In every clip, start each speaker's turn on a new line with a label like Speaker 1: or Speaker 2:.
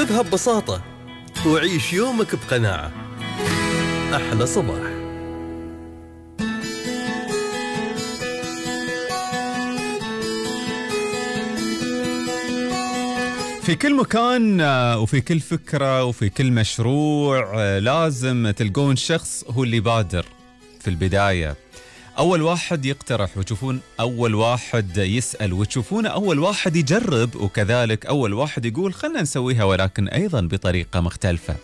Speaker 1: خذها ببساطة وعيش يومك بقناعة. أحلى صباح.
Speaker 2: في كل مكان وفي كل فكرة وفي كل مشروع لازم تلقون شخص هو اللي بادر في البداية، أول واحد يقترح وتشوفون أول واحد يسأل وتشوفون أول واحد يجرب، وكذلك أول واحد يقول خلنا نسويها ولكن أيضا بطريقة مختلفة.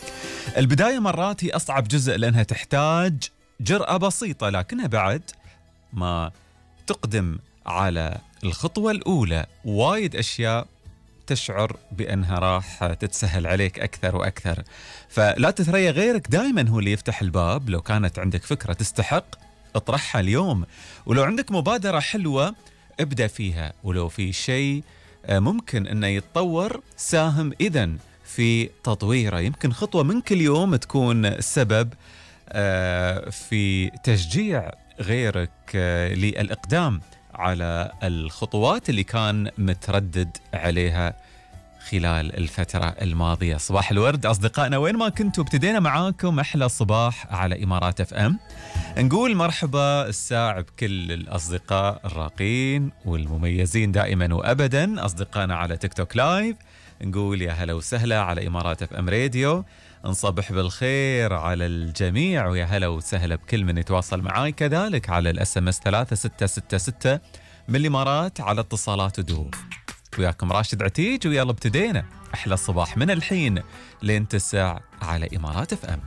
Speaker 2: البداية مرات هي أصعب جزء لأنها تحتاج جرأة بسيطة، لكنها بعد ما تقدم على الخطوة الأولى وايد أشياء تشعر بأنها راح تتسهل عليك أكثر وأكثر. فلا تتريا غيرك، دائما هو اللي يفتح الباب. لو كانت عندك فكرة تستحق اطرحها اليوم، ولو عندك مبادرة حلوة ابدأ فيها، ولو في شيء ممكن أنه يتطور ساهم إذن في تطويره. يمكن خطوة منك اليوم تكون سبب في تشجيع غيرك للإقدام على الخطوات اللي كان متردد عليها خلال الفترة الماضية. صباح الورد أصدقائنا وين ما كنتوا، ابتدينا معاكم أحلى صباح على إمارات اف ام. نقول مرحبا الساعة بكل الأصدقاء الراقين والمميزين دائما وأبدا، أصدقائنا على تيك توك لايف نقول يا هلا وسهلا، على إمارات اف ام راديو نصبح بالخير على الجميع، ويا هلا وسهلا بكل من يتواصل معاي كذلك على الاس ام اس 3666 من الإمارات على اتصالات ودوب. وياكم راشد عتيج، ويلا ابتدينا أحلى الصباح من الحين لين 9 على إمارات اف ام.